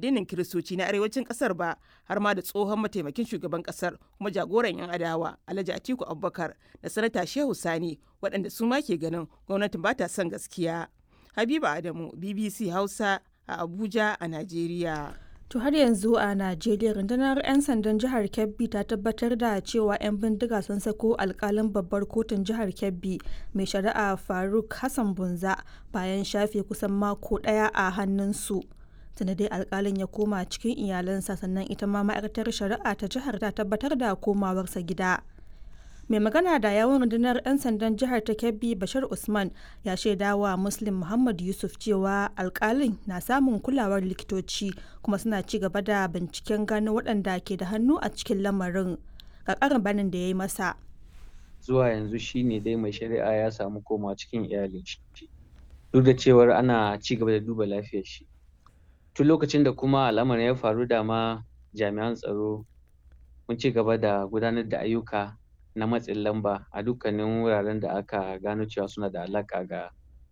addinin Kiristoci na arewacin kasar ba, har ma da tsohon mataimakin shugaban kasar kuma jagoran 'yan adawa Alhaji Atiku Abubakar da Sanata Shehu Sani, waɗanda su ma ke ganin gwamnatin ba ta son gaskiya. Habiba Adamu, BBC Hausa a Abuja a Najeriya. To har yanzu a Najeriya, rundunar 'yan sandan jihar Kebbi ta tabbatar da cewa 'yan bindiga sun sako alkalin babbar kotun jihar Kebbi, mai shari'a Faruk Hassan Bunza, bayan shafe kusan mako daya a hannunsu. Tunda dai alkalin ya koma cikin iyalansa, sannan ita ma ma'aikatar shari'a ta jihar ta tabbatar da komawarsa gida. Mai magana da yawun rundunar 'yan sandan jihar ta Kebbi, Bashar Usman, ya shaidawa Muslim Muhammad Yusuf cewa alkalin na samun kulawar likitoci kuma suna ci gaba da binciken gano waɗanda ke da hannu a cikin lamarin. Ga ƙarin banin da ya yi masa. Zuwa yanzu shine dai mai shari'a ya samu komawa cikin iyalin shi, duk da cewar ana ci gaba da duba lafiyar shi. Tun lokacin da kuma al'amarin ya faru, dama jami'an tsaro mun ci gaba da gudanar da ayyuka na matsin lamba a dukkanin wuraren da aka gano cewa suna da alaƙa ga